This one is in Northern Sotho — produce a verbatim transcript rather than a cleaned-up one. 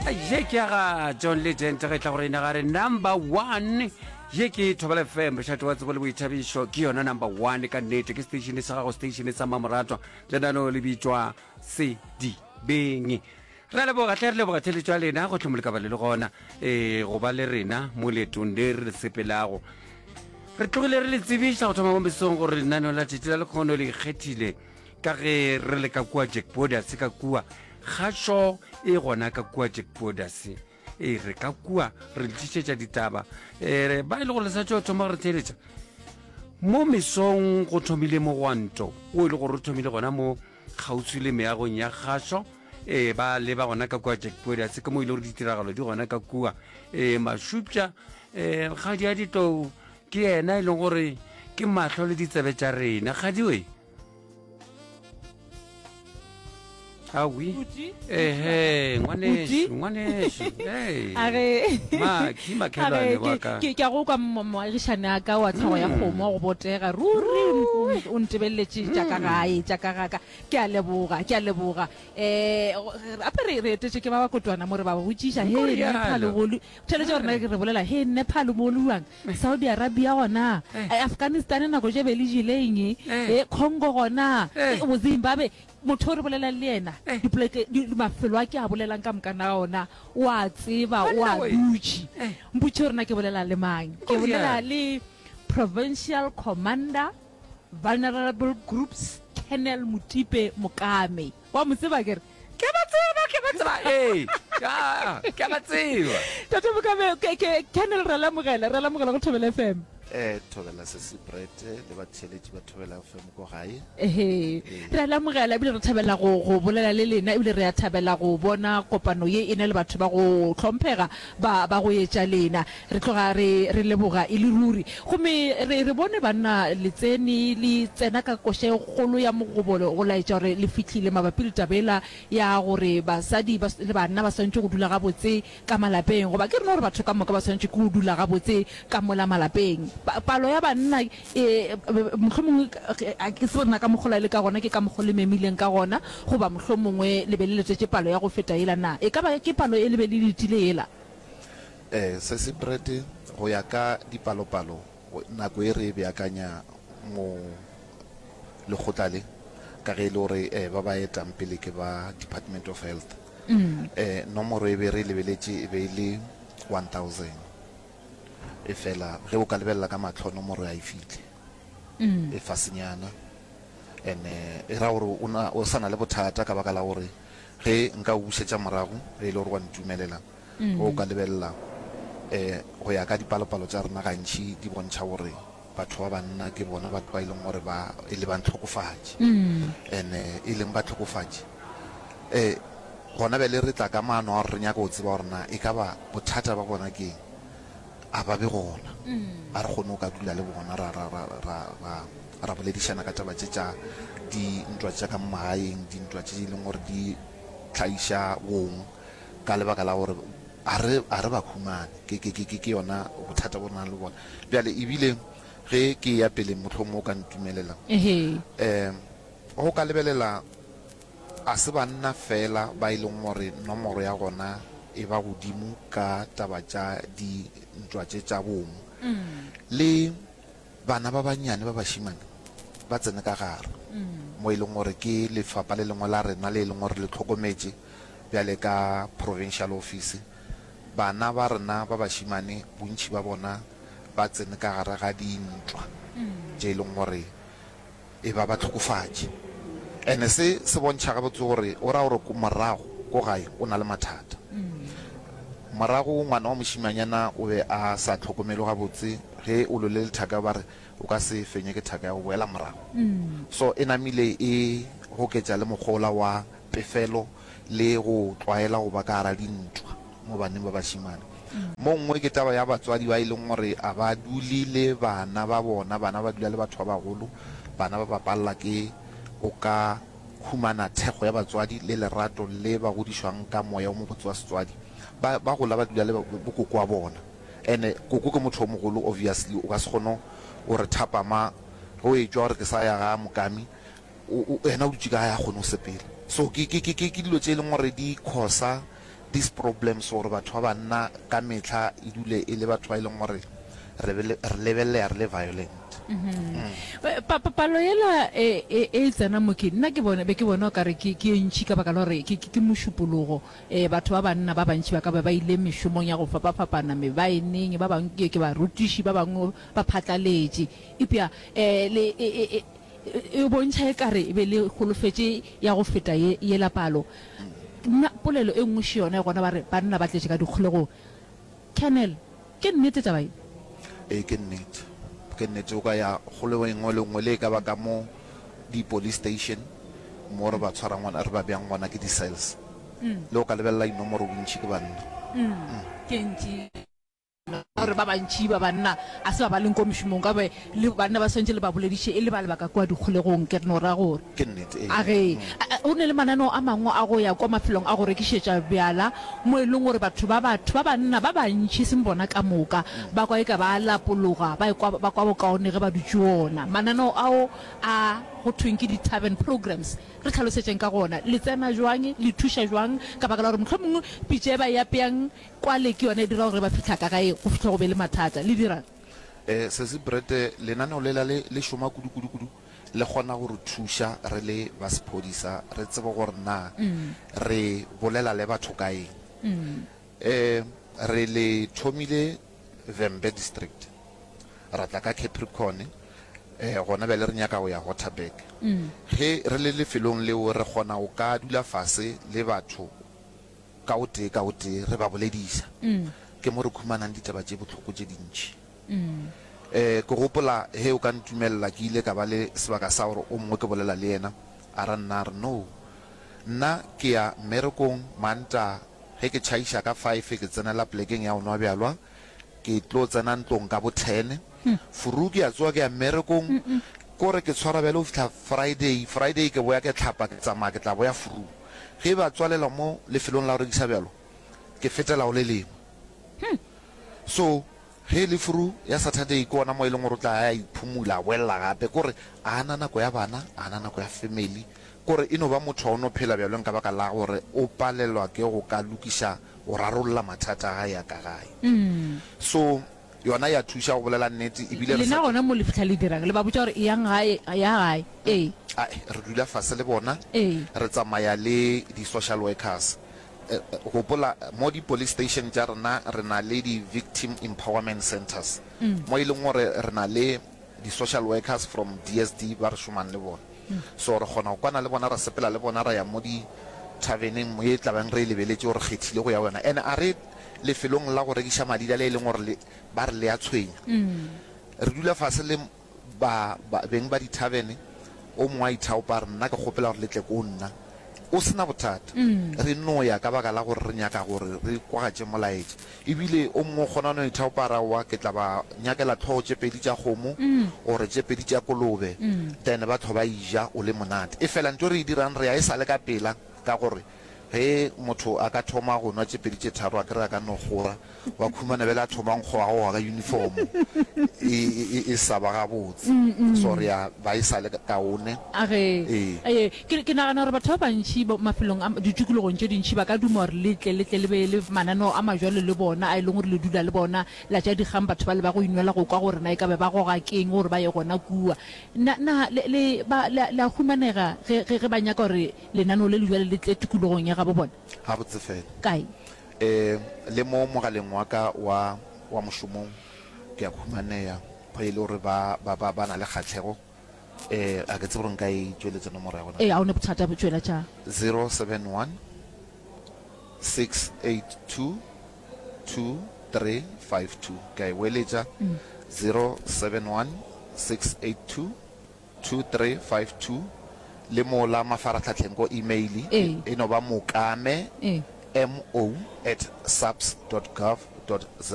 Ye ke ya ga John Legend ge tla gore ena ga re number one. Ye ke Thobela F M, mošate wa tsebo le boithabišo. Ke yona number one ka nnete, ke station sa gago, station sa mamoratwa. Lenaneo le bitšwa Sedibeng. Re a leboga tle, re leboga theletšo ya lena go tlhomole ka ba le le gona um go ba le rena mo leetong le re le sepelago. Re tlogile re le tsebiša go thoma mo mesong gore lenaneo la tšatši la lekgono le ikgethile ka ge re le ka kua Jack Borders, ka kua kgašo e gona ka kua Jack Borders. E re ka kua re le tlišetša ditaba. E ba e le gore le sa tšo thoma re theeletša mo mesong, go thomile mogwanto o e le gore o thomile gona mo kgauswi le meagong ya kgašo. E ba leba gona ka kua Jack Borders, ke mo e le gore ditiragalo di gona ka kua. E Mašupša um kgadi ya ditlou ke yena e leng gore ke mahlo le ditsebe tša rena. Kgadi we awi ehe, ngwanešu, ngwanešu. Makhi makhelwane wa ka. Ke a go kwa, moagišane a ka wa tlhogo ya kgomo wa go botega ruri. O ntebeleletše tša ka gae, tša ka gaka. Ke a leboga, ke a leboga. um gape re re etetše ke ba bakotwana mo, re ba botšiša he Nepal go theletše gore re bolela he Nepal mo luang, Saudi Arabia gona, Afghanistan nako tše be le jeleng, e Congo gona, bo Zimbabwe. Motho o re bolelang le yena dipoleke, mafelo a ke a bolelang ka mokana ga ona o a tseba, o a dutše. Mpotše gore na ke bolela le mang. Ke bolela le Provincial Commander Vulnerable Groups, Colonel Motipe Mokame. Wa mo tseba kere? Ke ba tseba, ke ba tseba, ee, ke ba tseba. Tate Mokame, ke Colonel, re lamogela, re lamogela go Thobela F M. Eh, Thobela Sesi Brett le batheeletši ba Thobela F M ko gae. Ehe, re a lamogela ebile re thabela go go bolela le lena, ebile re a thabela go bona kopano ye e na le batho ba go hlomphega ba ba go etša lena. Re tloga re re leboga e le ruri. Gomme re re bone banna le tsene le tsena ka koša e kgolo ya mogobolo go laetša gore le fihlile mabapi le taba yela ya gore basadi ba le banna ba swanetše go dula gabotse ka malapeng, goba ke rena gore batho ka moka ba swanetše ke go dula gabotse ka mola malapeng. Palo ya banna e mohlomongwe a ke tsebe rena ka mokgwa le ka gona, ke ka mokgwa le memileng ka gona, goba mohlomongwe le be le letetše palo ya go feta yela. Na e ka ba ke palo e le be le letile yela? Eh, Sesi Brett, go ya ka dipalopalo, nako e re e beakanya mo lekgotla le, ka ge e le gore eh, ba ba etang pele ke ba Department of Health, eh, nomoro e be re e lebeletše e be e le one thousand. E fela ge o ka lebelela ka mahlo, nomoro ya e fihle, e fasenyana. And e ra gore o na o sa na le bothata, ka baka la gore ge nka o bušetša morago, ge e le gore wa ntumelela, ge o ka lebelela um go ya ka dipalopalo tša rena, gantši di bontšha gore batho ba banna ke bona batho ba e leng gore ba e le bantlhokofatši, and e leng batlhokofatši. um gona bjale re tla ka maano a gore re nyaka go tseba gore na e ka ba bothata ba bona ke eng, a ba be gona, a re kgone go ka dula le bona, ra ra ra ra ra ra boledišana ka taba tše tša dintwa tša ka mo magaeng, dintwa tše e leng gore di tlhaiša bong, ka lebaka la gore a re a re ba humane. Ke ke ke ke yona bothata bo re nang le bona bjale. Ebile ge ke ya pele, mohlomongwe o ka ntumelela, um go ka lebelela, a se banna fela ba e leng gore nomoro ya gona e ba godimo ka taba tša dintwa tše tša bong, le bana ba bannyane ba bašemane ba tsene ka gare, mo e leng gore ke lefapha le lengwe la rena le e leng gore le hlokometše bjale ka provincial office. Bana ba rena ba bašemane bontši ba bona ba tsene ka gare ga dintwa tše e leng gore e ba ba hlokofatše. Ene se se bontšha gabotse gore o ra gore morago ko gae o na le mathata. Morago ngwana wa mošimanyana o be a sa hlokomelwe gabotse, ge o lwele le thaka ba re o ka se fenye ke thaka ya go boela morago. So e namile e goketša le mokgwa wa pefelo le go tlwaela go ba ka gara dintwa mo baneng ba bašemane. Mo nngwe ke taba ya batswadi ba e leng gore a ba dule le bana ba bona, bana ba dula le batho ba bagolo, bana ba bapalela ke go ka humana thekgo ya batswadi le lerato le ba godišwang ka moya o mobotse wa setswadi. Ba ba gola ba dula le bokoko wa bona, ene koko ke motho o mogolo, obviously o ka se kgone o re thapama ge o etšwa gore ke sa ya ga mokami, yena o dutše ka gae, a kgone go sepela. So ke ke ke ke dilo tše e leng gore di causa these problems gore batho ba banna ka mehla e dule e le batho ba e leng gore re re lebelelega re le violent. Pa, pa, palo yela e, e, e tsena mo ke, nna ke bone, be ke bona o ka re ke, ke e ntši ka baka la gore ke, ke, ke mošupologo. E, batho ba banna ba bantši ba ka be ba ile mešomong ya go fapafapana, mebaeneng, ba bangwe ke, ke barutiši, ba bangwe ba phatlaletše. Eupša e, le, e, e, e, e bontšha e ka re e be le holofetše ya go feta ye, yela palo. Nna, polelo e nngwe še yona e gona ba re banna ba tletše ka dikgolegong. Colonel, ke nnete taba ye? Ee, ke nnete. Ke nnete. O ka ya kgolego e nngwe le nngwe, le e ka ba ka mo di-police station mo re ba tshwarang gona, re ba beang gona ke di-cells. Le o ka lebelela dinomoro bontši ke banna. Ke ntši gore ba bantši ba banna a se ba ba leng ko mešomong, ka be le banna ba swantše le ba bolediše e le ba lebaka kua dikgolegong, ke re no ra gore. Ke nnete, ee. A ge go ne le mananeo a mangwe a go ya kwa mafelong a go rekišetša bjala mo e leng gore batho ba batho ba banna ba bantši, e seng bona ka moka, ba kwa eka ba a lapologa, ba ekwa ba kwa bokaone ge ba dutše ona. Mananeo ao a go thweng ke di-tavern programs, re hlalosetšeng ka gona. Le tsena jwang? Le thuša jwang? Ka baka la gore mohlomongwe pitša e ba e apeang kwale ke yona e dira gore ge ba fihla ka gae go fihla go be le mathata. Le dira'ng? Eh, Sesi Brett, lenaneo lela le, le šoma kudu, kudu, kudu. Le kgona go re thuša re le ba sephodisa re tsebe gore na re bolela le batho ka eng. Eh, re le thomile Vhembe District, ra tla ka Capricorn, eh, gona bjale re nyaka go ya Waterberg. Ge re le lefelong leo re kgona go ka dula fase le batho ka o tee ka o tee re ba bolediša. Ke mo re khumanang ditaba tše bohloko tše dintši. Um ke gopola ge o ka ntumelela ke ile ka ba le sebaka sa gore o mongwe ke bolela le yena a ra nna a re no nna ke ya mmerekong Mantaga ge ke tšhaiša ka five ke tsenela plekeng ya go nwa bjalwa ke tlo tsena ntlong ka bo ten furu ke a tsoga ke ya mmerekong kore ke tshwara bjale go fihla Friday Friday ke boya ke hlapa ke tsamaya ke tla boya furu ge ba tswalela mo lefelong la go rekisa bjalwa ke fetela go le lengwe so ge e le furu ya Saturday ke ona mo e leng gore o tla ya iphumula a boelela gape kore a na nako ya bana a na nako ya family kore e no ba motho wa o no phela bjalweng ka baka la gore o palelwa ke go ka lokiša go rarolla mathata a gae a ka gae so yona ya thuša go bolela nnete ebile re Lena sa gona mo le fihla le dirang? Le ba botša gore eyang gae, ya gae. Ee. Ae, re dula fase le bona Ee. re tsamaya le di-social workers. Eh, eh, gopola mo di-police station tša rena re na le di-victim empowerment centers mo e leng gore re na le di-social workers from D S D ba re šomang le bona. So re kgona go kwana le bona, ra sepela le bona, ra ya mo di-taverneng mo e tlabeng re e lebeletše gore kgethile go ya go yona. And a re lefelong la go rekiša madila le e leng gore le ba re le a tshwenya. Re dula fase le ba, ba beng ba di-tavern, o mongwe a ithaopa a re nna ke kgopela gore le tle ko nna o sena bothata. Re no ya ka baka la gore re nyaka gore re kwagatše molaetša. Ebile o mongwe o kgona no ithaopa a re aowa ke tla ba nyakela tlhogo tše pedi tša kgomo or tše pedi tša kolobe then ba tlo ba eja o le monate. E fela ntho e re e dirang re ya e sa le ka pela ka gore ge motho a ka thoma go nwa tše pedi tše tharo a kere a ka no kgora wa khumana bjale a thoma nkgo wa goga ka uniform e, e, e sa ba gabotse. So re ya ba e sa le kaone. A ge, Ee. ee, ke, ke nagana gore batho ba bantši bo, mafelong a, ditikologong tše dintši ba ka duma gore le tle, le tle le be le mananeo a majwalo le bona, a e leng gore le dula le bona, la tša dikgang batho bale ba go inwela go kwa gore na e ka be ba goga keng gore ba ye gona kua. Na, na le, le, ba, le, le a humanega ge, ge, ge ba nyaka gore lenaneo le le jwale le tle tikologong ya gabo bona? Gabotse fela. Kae? Um le mo mogaleng wa ka wa, wa mošomong ke a humaneya ge e le gore ba, ba, ba, ba na le kgahlego. Um a ke tsebe gore nka e tšweletša nomoro ya gona. Ee, ga o ne bothata, tšweletša. Zero seven one six eight two two three five two. Ke a e boeletša, zero seven one six eight two two three five two. Le mo la mafaratlhatlheng ko email Ee. e no ba mokame Ee. mo at saps dot gov dot za.